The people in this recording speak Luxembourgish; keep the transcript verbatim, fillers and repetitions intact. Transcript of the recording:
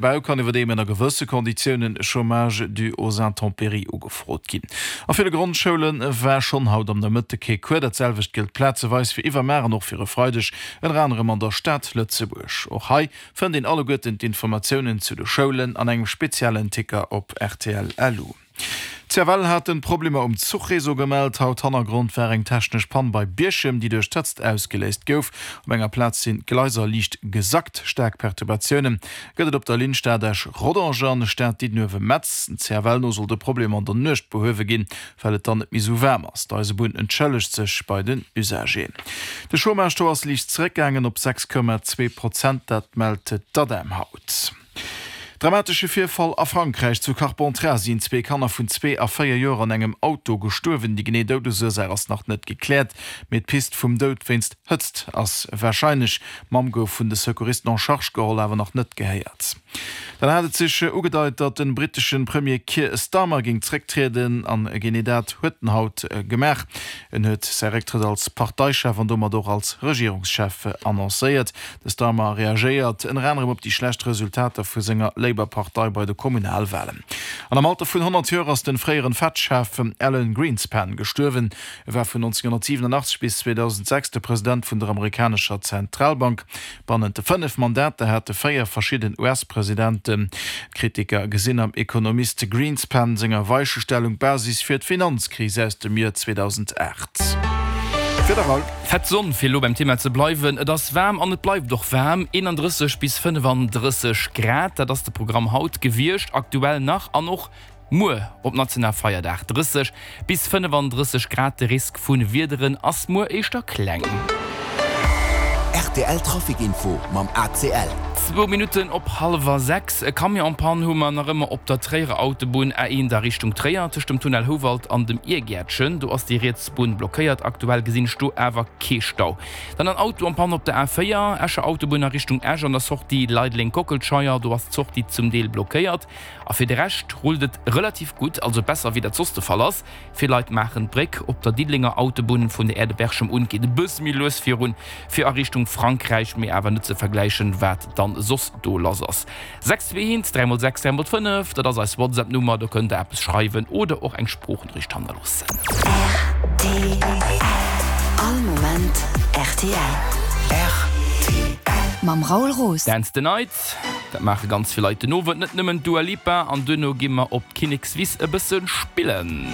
Bau kann iwwerdeem ënner gewësse Konditiounen Chômage dû aux intempéries ugefrot ginn. A ville Grondschoule war schonn haut am Nomëtte kee Cours. Dat selwecht gëllt plazeweis fir iwwermar an och fir e Freideg, ënner anerem an der Stad Lëtzebuerg. Och hei fënnt een alleguerten d'Informatiounen zu de Schoulen an engem speziellen Ticker op rtl. Lu. D'CFL hat Problemer um Zuchreseau gemellt. Haut Hannergrond war eng technesch Pann bei Bierchem, déi duerch d'Hëtzt ausgeléist gouf. Op enger Plaz sinn d'Gleiser liicht gesackt. Staark Perturbatioune gëtt et op der Linn Stad-Esch-Rodange an Stad-Diddenuewe-Metz. Dem CFL no soll de Problem an der Nuecht behuewe ginn, well et dann net méi sou waarm ass. D'Eisebunn entschëllegt sech bei den Usageren. De Chômage-Taux ass liicht zeréckgaangen op sechs Komma zwee Prozent, dat mellt d'ADEM haut. Dramatesche Virfall a Frankräich, Zu Carpentras sinn zwee Kanner vun zwee a véier Joer an engem Auto gestuerwen. Déi genee Doudesursaach ass nach net gekläert, mee d'Pist vum Doud wéinst Hëtzt ass warscheinlech. D'Mamm gouf vun de Secouristen en charge geholl, awer nach net gehéiert. Dann hat et sech ugedeit, datt de brittesche Premier Keir Starmer géing zrécktrieden an genee dat huet en haut gemaach. En huet säi Récktrëtt als Parteichef an domat och als Regierungschef annoncéiert. De Starmer reagéiert ënner anerem op déi schlecht Resultater vu senger Labour-Partei bei de Kommunalwalen. An am Alter vun honnert Joer ass de fréieren Fed-Chef Alan Greenspan gestuerwen. E war vun nonzénghonnertsiwenunachtzeg bis zweedausendsechs de President vun der amerikanescher Zentralbank. Bannent de fënnef Mandater hat e véier verschidden U S-Presidenten. D'Kritiker gesinn am Ekonomist Greenspan senger Weichestellung d'Basis fir d'Finanzkris aus dem Joer zweedausendacht. Fir de Raoul. Fett Sonn, fir elo beim Thema ze bleiwen, Et ass waarm an et bleift och waarm, eenandrësseg bis fënnefandrësseg Grad, dat ass de Programm haut gewiescht, aktuell nach an och muer op Nationalfeierdag drësseg bis fënnefandrësseg Grad. De Risk vu Wiederen ass muer éischter kleng. R T L Trafic Info mam A C L. Zwou Minutten op hallwer sechs. E Camion en panne hu mer nach ëmmer op der Tréierer Autobunn A eent a Richtung Tréier, tëscht dem Tunnel Houwald an dem Irgäertchen. Do ass déi riets Bunn blockéiert. Aktuell gesinn ech do awer kee Stau. Dann en Auto en panne op der A véier, Escher Autobunn a Richtung Esch an der Sortie Leideleng-Kockelscheier. Do ass d'Sortie zum Deel blockéiert. A fir de Rescht rullt et relativ gutt, also besser wéi dat soss de Fall ass. Vill Leit maachen d'Bréck. Op der Diddelenger Autobunn vun der Aire de Berchem un geet e bësse méi lues virun fir a Richtung Frankräich, mee awer net ze vergläichen wat dann soss do lass ass. Sechs zwee eent dräi mol sechs dräi mol fënnef, dat ass eis WhatsApp-Nummer, do kënnt der eppes schreiwen oder och eng Sproochnoriicht hannerloossen. R T L. All Moment R T L. R T L. Mam Raoul Roos. Dance the Night, dat maache ganz vill Leit den Owend, net nëmmen d'Dua Lipa, an duerno gi mer op d'Kinnekswiss e bësse spillen.